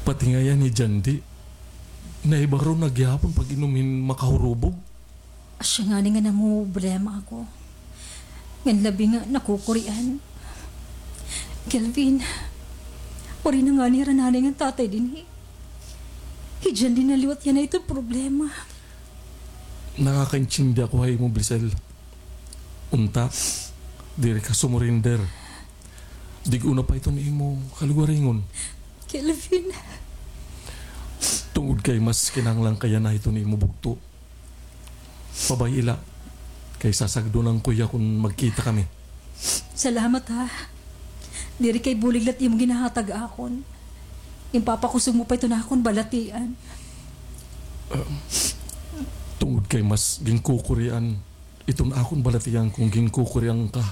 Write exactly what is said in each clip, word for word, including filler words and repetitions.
Pati ngay-an hi Jandy, nahibaron na gihapon pag-inom hin makahurubog. Asya ngani nga namumroblema ako. Ngan labi nga nakukurian. Kelvin, waray na ngani hira nanay ngan tatay dinhi. Hi Jandy na liwat yana iton problema. Nakakaintindi ako ha imo, Blessel. Unta, diri ka sumurender. Dig-o na pa iton imo kalugaringon. Kelvin. Tungod kay mas kinahanglan ka yana hiton imo bugto. Pabay-i la, kay sasagdonan ko hiya kon magkita kami. Salamat, ha. Diri kay bulig la it imo ginhahatag akon. Ginpapakusog mo pa iton akon balatian. Ah, tungod kay mas ginkukurian iton akon balatian kon ginkukurian ka.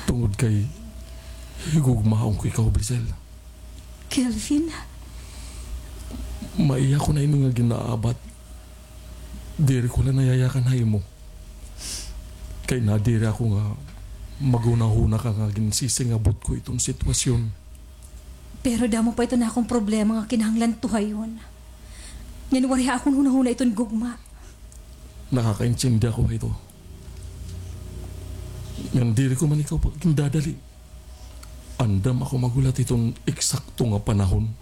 Tungod kay higugmaon ko ikaw, Blessel. Kelvin? Maiha ko na ini nga gin-aabat. Diri ko la nayayakan ha imo. Kay nadiri ako nga maghunahuna ka nga ginsisingabot ko iton sitwasyon. Pero damo pa iton akon problema nga kinahanglan tuhayon. Ngan waray ha akon hunahuna iton gugma. Nakakaintindi ako hito. Ngan diri ko man ikaw pagindadali. Andam ako maghulat hiton eksakto nga panahon.